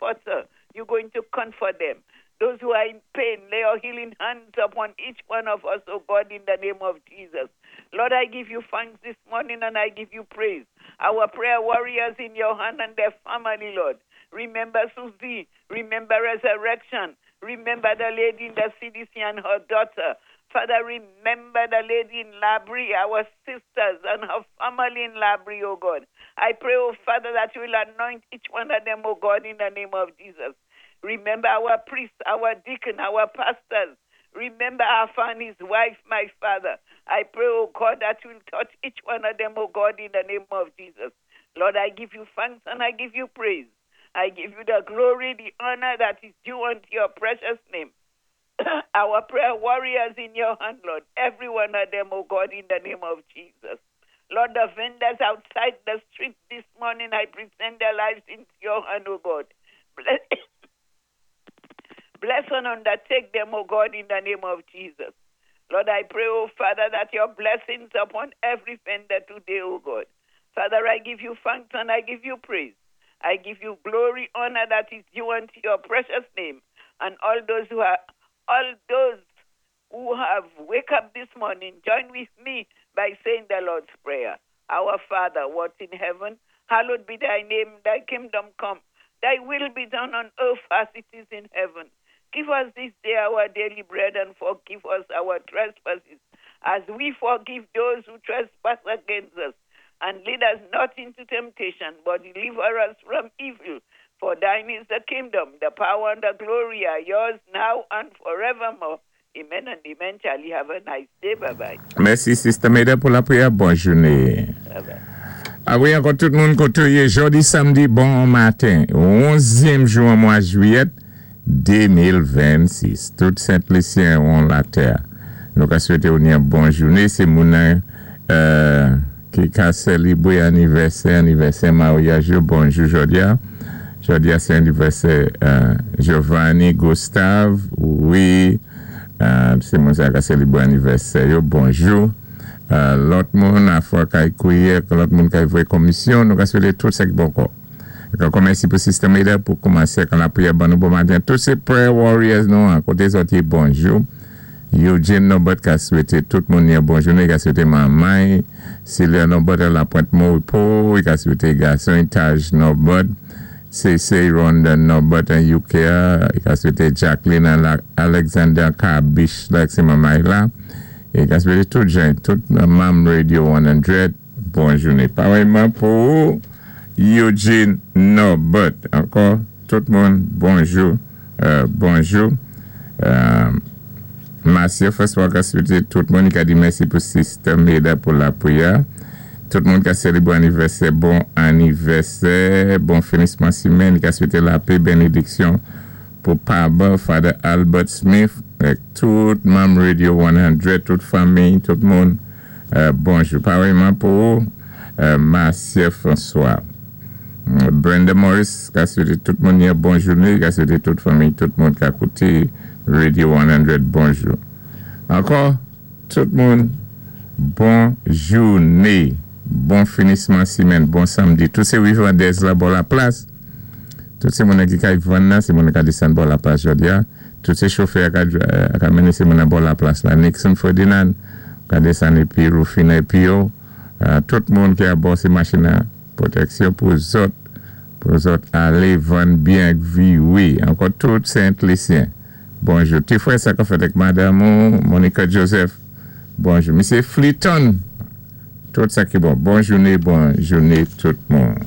comforter. You're going to comfort them. Those who are in pain, lay your healing hands upon each one of us, oh God, in the name of Jesus. Lord, I give you thanks this morning and I give you praise. Our prayer warriors in your hand and their family, Lord. Remember Susie. Remember Resurrection. Remember the lady in the CDC and her daughter. Father, remember the lady in Labrie, our sisters and her family in Labrie, oh God. I pray, oh Father, that you will anoint each one of them, oh God, in the name of Jesus. Remember our priests, our deacon, our pastors. Remember Alpha and his wife, my Father. I pray, oh God, that you will touch each one of them, oh God, in the name of Jesus. Lord, I give you thanks and I give you praise. I give you the glory, the honor that is due unto your precious name. Our prayer warriors in your hand, Lord. Every one of them, oh God, in the name of Jesus. Lord, the vendors outside the street this morning, I present their lives into your hand, oh God. Bless, bless and undertake them, oh God, in the name of Jesus. Lord, I pray, oh Father, that your blessings upon every vendor today, oh God. Father, I give you thanks and I give you praise. I give you glory, honor that is due unto your precious name. And all those who have wake up this morning, join with me by saying the Lord's Prayer. Our Father, what in heaven, hallowed be thy name, thy kingdom come, thy will be done on earth as it is in heaven. Give us this day our daily bread and forgive us our trespasses, as we forgive those who trespass against us. And lead us not into temptation, but deliver us from evil. For thine is the kingdom, the power, and the glory are yours now and forevermore. Amen and amen. Charlie, have a nice day. Bye bye. Mèsi, Sister Meda, pou lapriyè. Bòn jounen. Bye bye. A wi, ankò tout moun koté ou yé. Jòdi samdi, bon maten. 11èm jou an mwa jwiyèt 2026. Tout Sent Lisyen won latè. Nou ka swété ou ni yon bon jounen. Sé moun ki ka sélébwé anivèsè, maryaj yo, bonjou jòdi a. Jòdi a sé anivèsè Giovanni Gustave, wi, sé moun sa ka sélébwé anivèsè yo, bonjou. Lòt moun afwa kay kwiyè, lòt moun kay voyé komisyon, nou ka swété tout sa ki bon kò. Ankò mèsi pou Sister Meda pou koumansé kan lapriyè ban nou bon maten. Tout sé prayer warriors nou an koté zòt yé, bonjou. Eugene Norbert ka swété tout moun yon bon jounen, i ka swété manman Celia Norbert à la Pointe Moripo, i ka swété gason Taj Norbert, Cece Rhonda Norbert an UK, i ka swété Jacqueline Alexander Kabish la, sé manman la, i ka swété tout jan, tout manm Radio 100, bon jounen. Parèyman pou Eugene Norbert. Ankò, tout moun, bonjou, bonjou. Marcia François ka swété tout moun, i ka di mèsi pou Sister Meda pou lapriyè. Tout moun ka sélébwé anivèsè, bon anivèsè, bon finisman simenn, i ka swété lapè, bénédiksyon pou Paba, Father Albert Smith, ak tout manm Radio 100, tout fanmi, tout moun, bonjou. Parèyman pou Marcia François. Brenda Morris ka swété tout moun yon bon jounen, ka swété tout fanmi, tout moun ka kouté Radio 100, bonjou. Ankò, tout moun, bon jounen, bon finisman simenn, bon samdi. Tout sé rivandèz la bò la plas. Tout sé moun ki kay vann nan, sé moun ka désann bò la plas jòdi a. Tout sé chofè ka, ka mennen sé moun bò la plas la. Nixon Ferdinand ka désann épi Rufina épi yo. Tout moun ki a bò sé machin nan pwotèksyon pou zòt alé vann byen vi wi. Ankò tout Sent Lisyen. Bonjou. Ti frè sa ka fèt ak madam ou, Monica Joseph. Bonjou. Mesye Fleeton. Tout sa ki bon. Bon jounen, bon jounen tout moun.